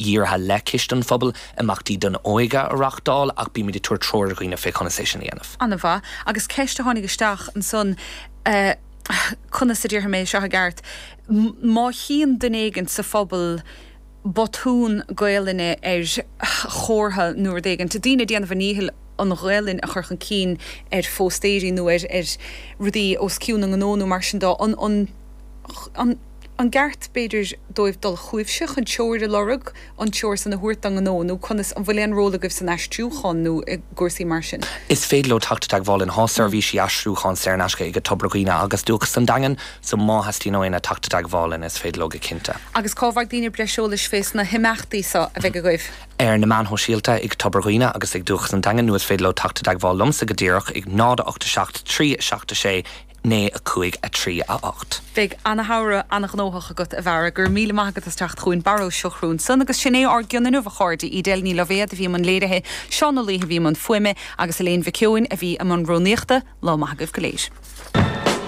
Dhírithe le Ciste an Phobail, imeachtaí don óige a reáchtáil ach bímid ag tabhairt treoir do dhaoine fé conas é sin a dhéanamh. An-mhaith. Agus ceist a tháinig isteach ansan, conas a déarfaidh mé seo i gceart, má chíonn duine éigin sa phobal botún Gaelainne ar chomhartha nó rud éigin, daoine ag déanamh a ndíchill an Ghaelainn a chur chun cinn ar phóstaeirí nó ar rudaí os cionn a ngnó nó mar sin de, an, an, an. An gceart, b'fhéidir, dóibh dul chugaibhse chun treoir a lorg, an treoir san a thabhairt dá ngnó, nó conas, an bhfuil aon ról agaibh san aistriúchán nó i gcúrsaí mar sin? Is féidir leo teacht i dteagmháil linn. Tá seirbhísí aistriúcháin saor in aisce ag Tobar Dhuibhne agus Dúchas an Daingin, so má theastaíonn ó éinne teacht i dteagmháil linn, is féidir leo go cinnte. Agus cá bhfaighidh daoine breis eolais fés na himeachtaí so a bheidh agaibh? Ar na meáin shóisialta ag Tobar Dhuibhne agus ag Dúchas an Daingin, nó is féidir leo teacht i dteagmháil liomsa go díreach ag 0 8 7 3 7 6 9 5 3 8. Beidh ana-shamhradh ana-ghnóthach agat, a Bharra. Go raibh míle maith agat as teacht chugainn. Barra Ó Siochrú ansan. Agus sin é ár gcion inniu, a chairde. Edel Ní Loibhéad a bhí i mbun léirithe, Seán Ó Laoithe a bhí i mbun fuaime, agus Elaine Mhic Eoin a bhí i mbun rúnaíochta. Lá maith agaibh go léir.